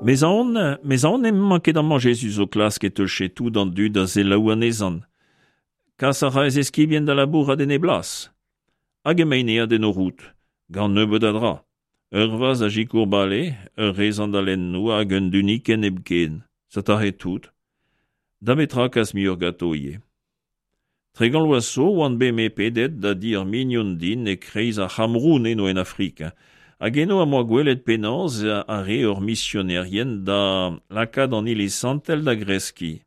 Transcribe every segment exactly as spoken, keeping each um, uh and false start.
Mez aon, mez aon emañ ket amañ Jezuz o klask e teufe tout an dud da selaou anezhañ. Kas a ra e zeskibien da labourat en e blas. Hag emaint aet en o roud, gant nebeut a dra. Ur vazh da sikour bale, ur re sandalennoù hag un dunikenn hepken. Setahe tout. Da betra kas muioc'h ganto ivez. Tregont vloaz zo oan bet me pedet da di ur mignon din e-kreiz ar C'hameroun eno en Afrika. Hag eno am boa gwelet penaos a re hor misionerien da lakaat an iliz santel da greskiñ.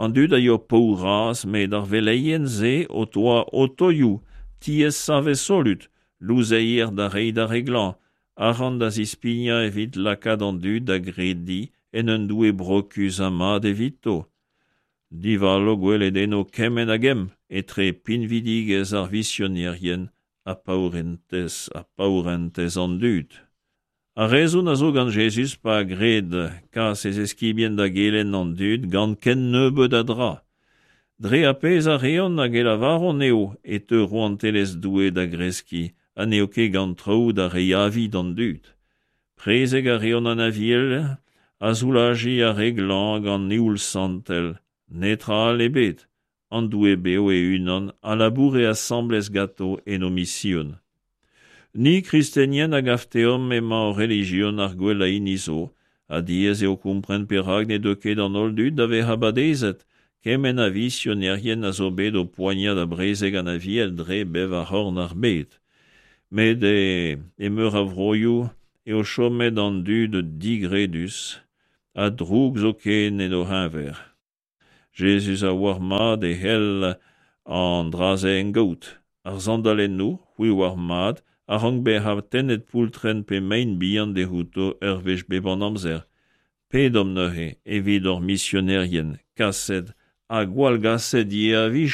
An dud a yoa paour-razh met ar veleien-se o doa otoioù, tiez savet solut, louzeier da reiñ d'ar re glañv, arc'hant da zispignañ evit lakaat an dud da grediñ en un doue brokus ha mat evito. Divalo gwelet eno kement a gemm etre pinvidigezh ar visionerien ha paourentez ha paourentez an dud. Ar rezon a zo gant Jezuz pa gred kas e zeskibien da gelenn an dud gant ken nebeut a dra. Dre ar pezh a reont hag e lavaront eo e teu rouantelezh Doue da greskiñ ha n'eo ket gant traoù da reiñ avi d'an dud. Prezeg a reont an Aviel ha soulajiñ ar re glañv gant eoul santel. Netra all ebet. An Doue bev e-unan a laboure asambles ganto en o mision. Ni kristenien a gav deomp emañ hor relijion ar gwellañ hini zo, ha diaes eo kompren perak ne deu ket an holl dud da vezañ badezet, kement a visionerien a zo bet o poaniañ da brezeg an Aviel dre bevar c'horn ar bed. Met e, e meur a vroioù eo chomet an dud digredus ha droug zoken en o c'heñver. Jezuz a oar mat e c'hell an dra-se engaout. Ar sandalennoù, c'hwi oar mat, a rank bezañ tennet poultrenn pe mein bihan dezhouto ur wech bep an amzer. Pedomp neuze evit hor misionerien, kaset ha gwallgaset ivez a-wechoù.